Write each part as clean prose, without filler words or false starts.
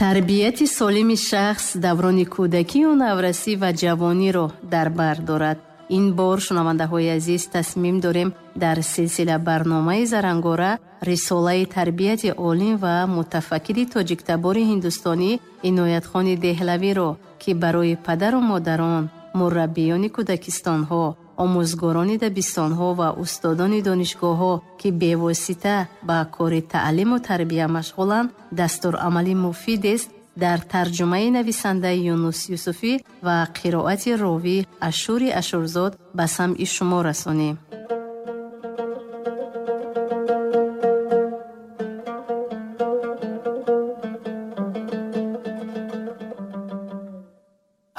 Тарбияти солими шахс даврони кӯдакию наврасӣ ва ҷавониро дар бар дорад. Ин бор, шунавандаҳои азиз, тасмим дорем дар силсила барномаи Зарангора рисолаи тарбияти олим ва мутафаккири тоҷиктабори ҳиндустонӣ Иноятхони Деҳлавиро, ки барои падару модарон, мураббиёни кӯдакистонҳо, омӯзгорони дабистонҳо ва устодони донишгоҳҳо, ки бевосита ба кори таълиму тарбия машғуланд, дастурамали муфидест, дар тарҷумаи нависандаи Юнус Юсуфӣ ва қироати ровӣ Ашури Ашурзод ба самъи шумо расонем.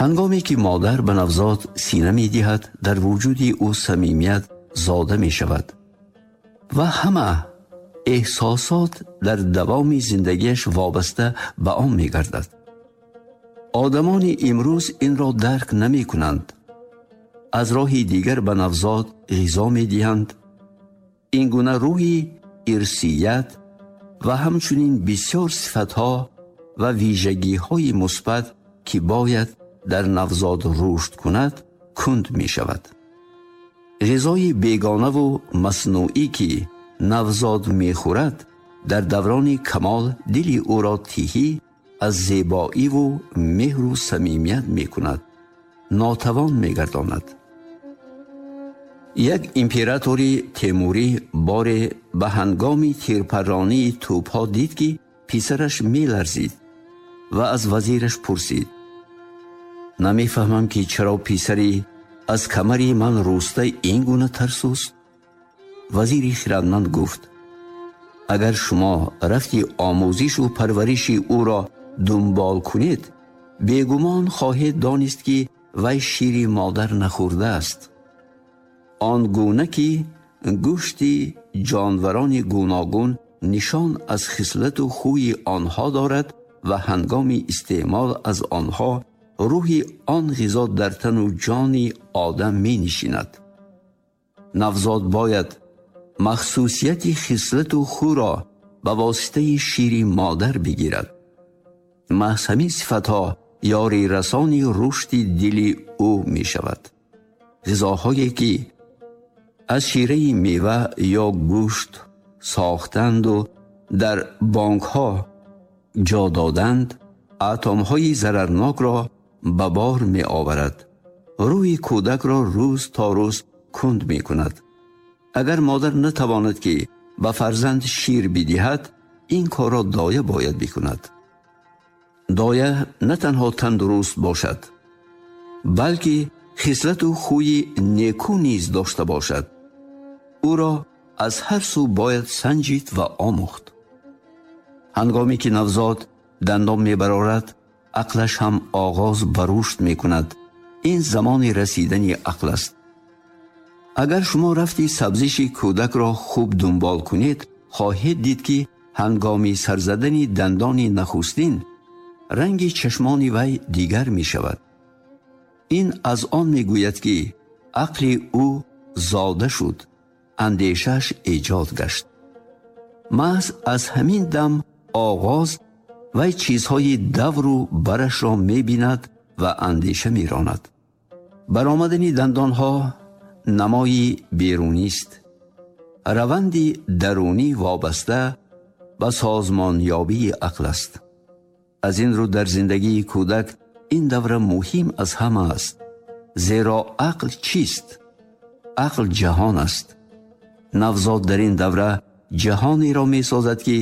Ҳангоме ки модар ба навзод сина медиҳад, дар вуҷуди ӯ самимият зода мешавад ва ҳама эҳсосот дар давоми зиндагиаш вобаста ба он мегардад. Одамони имрӯз инро дарк намекунанд. Аз роҳи дигар ба навзод ғизо медиҳанд. Ин гуна рӯҳи ирсият ва ҳамчунин бисёр сифатҳо ва вижагиҳои мусбат, ки бояд дар навзод рушд кунад, кунд мешавад. Ғизои бегонаву маснуӣ, ки навзод мехӯрад, дар даврони камол дили ӯро тиҳӣ аз зебоиву меҳру самимият мекунад, нотавон мегардонад. Як императори Темурӣ боре ба ҳангоми тирпарронии тӯбҳо дид, ки писараш меларзид ва аз вазираш пурсид: намефаҳмам, ки чаро писари аз камари ман руста ин гуна тарсуст? Вазири хирадманд гуфт: агар шумо рафти омӯзишу парвариши ӯро дунбол кунед, бегумон хоҳед донист, ки вай шири модар нахӯрдааст. Он гуна ки гӯшти ҷонварони гуногун нишон аз хислату хӯи онҳо дорад ва ҳангоми истеъмол аз онҳо рӯҳи он ғизо дар тану ҷони одам менишинад. Навзод бояд махсусияти хислату хӯро ба воситаи шири модар бигирад. Маҳз ҳамин сифатҳо ёри расони рушди дили ӯ мешавад. Ғизоҳое ки аз шираи мева ё гӯшт сохтанду дар бонкҳо ҷо доданд, атомҳои зарарнокро ба бор меоварад. Рӯҳи кӯдакро рӯз то рӯз кунд мекунад. Агар модар натавонад, ки ба фарзанд шир бидиҳад, ин корро доя бояд бикунад. Доя на танҳо тандуруст бошад, балки хислату хӯи неку низ дошта бошад. Ӯро аз ҳар сӯ бояд санҷид ва омӯхт. Ҳангоме ки навзод дандон мебарорад, ақлаш ҳам оғоз ба рушд мекунад. Ин замони расидани ақл аст. Агар шумо рафти сабзиши кӯдакро хуб дунбол кунед, хоҳед дид, ки ҳангоми сарзадани дандони нахустин ранги чашмони вай дигар мешавад. Ин аз он мегӯяд, ки ақли ӯ зода шуд, андешааш эҷод гашт. Маҳз аз ҳамин дам оғоз вай чизҳои давру барашро мебинад ва андеша меронад. Баромадани дандонҳо намои берунист. Раванди дарунӣ вобаста ба созмонёбии ақл аст. Аз ин рӯ дар зиндагии кӯдак ин давра муҳим аз ҳама аст. Зеро ақл чист? Ақл ҷаҳон аст. Навзод дар ин давра ҷаҳонеро месозад, ки